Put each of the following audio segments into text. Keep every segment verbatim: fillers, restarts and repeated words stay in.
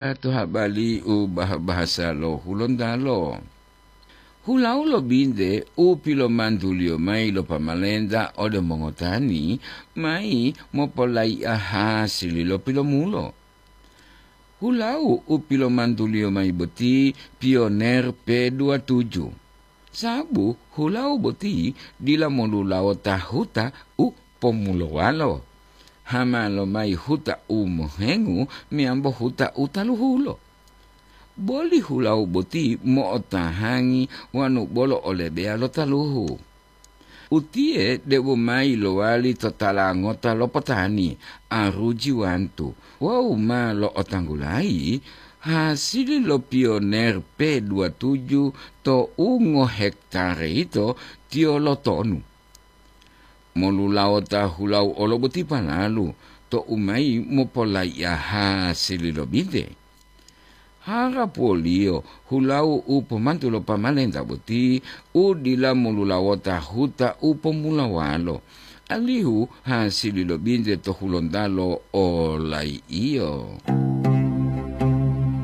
to habari u bah-, bahasa lo Hulontalo. Hulau lo binte u pilomantuliyo mayi lo pamalenta ode mongotani mayi mopolaiya hasili lo pilomulo. Hulau u pilomantuliyo mayi boti Pioner P dua tujuh. Sabu hulau boti dila molulawota huta u pomulowalo. Hama lomayi huta u mohengu meyambo huta u taluhulo. Boli hulau boti mo'otahangi wanu bolo o lebeya lo taluhu. Utiye debo mayi lowali to tala ngota lo potani, aruji wantu, wawu ma lo'otanggulayi hasili lo Pioner P dua tujuh to u ngohektare yito tiyo lotonu. Molulawota hulau olo boti palalu to u mayi mopolaiya hasili lo binte. Harapuwoliyo hulau u pomantu lo pamalenta boti u dila molulawota huta u pomulawalo, alihu hasili lo binte to Hulontalo olaiyo.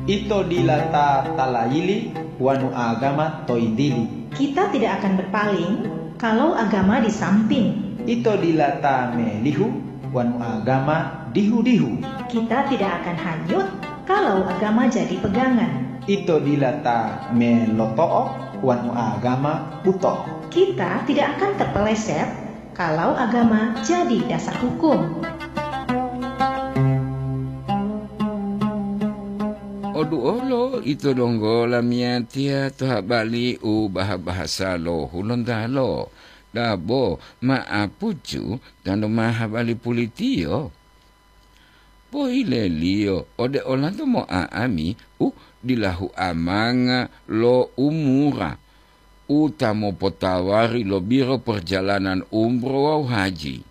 Ito dila ta talayili wanu agama to yintili. Kita tidak akan berpaling kalau agama di samping. Ito dila ta melihu wanu agama dihu-dihu. Kita tidak akan hanyut kalau agama jadi pegangan. Ito dila ta meloto'o wanu agama buto. Kita tidak akan terpeleset kalau agama jadi dasar hukum. Odu olo ito donggo lamiyatiya to habari u baha-bahasa lo Hulontalo, dabo ma apucu tando ma habari pulitiyo. Pohileliyo ode olanto mo'a'ami u dilahu amanga lo umura, u ta mopotawari lo Biro Perjalanan Umroh wawu Haji.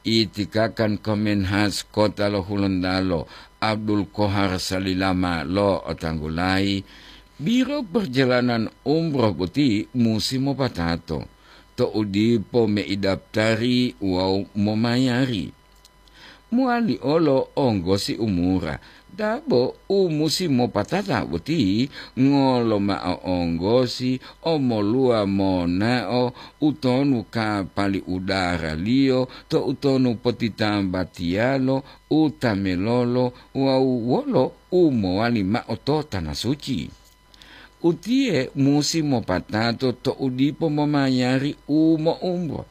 Itikakan Komenhas Kota lo Hulontalo, Abdul Kohar Salilama lo'otanggulayi, Biro Perjalanan Umroh boti musi mopatato, to'u dipo meidaftari wawu momayari. Mowali olo onggosi umura, dabo u musi mopatata boti ngolo mao onggosi omoluwa monao utonu kapali udaraliyo to utonu potitambatiyalo u tamelolo wawu wolo u mowali mao to Tana Suci. Utiye musi mopatato to'u dipo momayari u mo'umbo.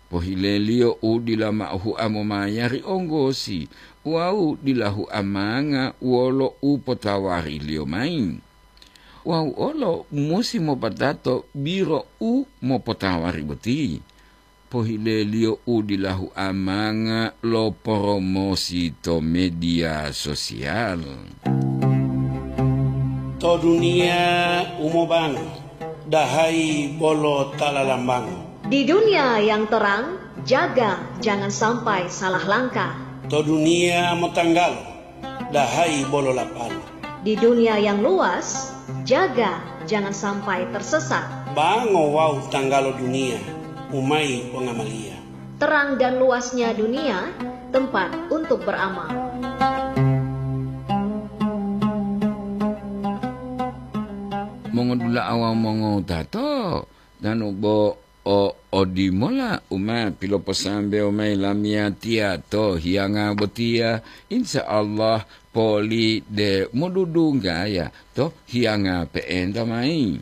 Pohileliyo u dila mao hua momayari onggosi wawu dila hua manga wolo u potawariliyo mayi. Wawu olo musi mopatato biro u mopotawari boti. Pohileliyo u dila hua manga lo poromosi to media sosial. To duniya u mobango, dahayi bolo ta lalambango. Di dunia yang terang, jaga jangan sampai salah langkah. To duniya motanggalo, dahayi bolo lapalo. Di dunia yang luas, jaga jangan sampai tersesat. Bango wawu tanggalo duniya, umayi pongamaliya. Terang dan luasnya dunia, tempat untuk beramal. Mongodula'a wawu mongowutato, tanu bo o odimola u ma piloposambewo mayi lamiyatiya to hiyanga botiya, insya Allah poli de modudunggaya to hiyanga pe'enta mayi.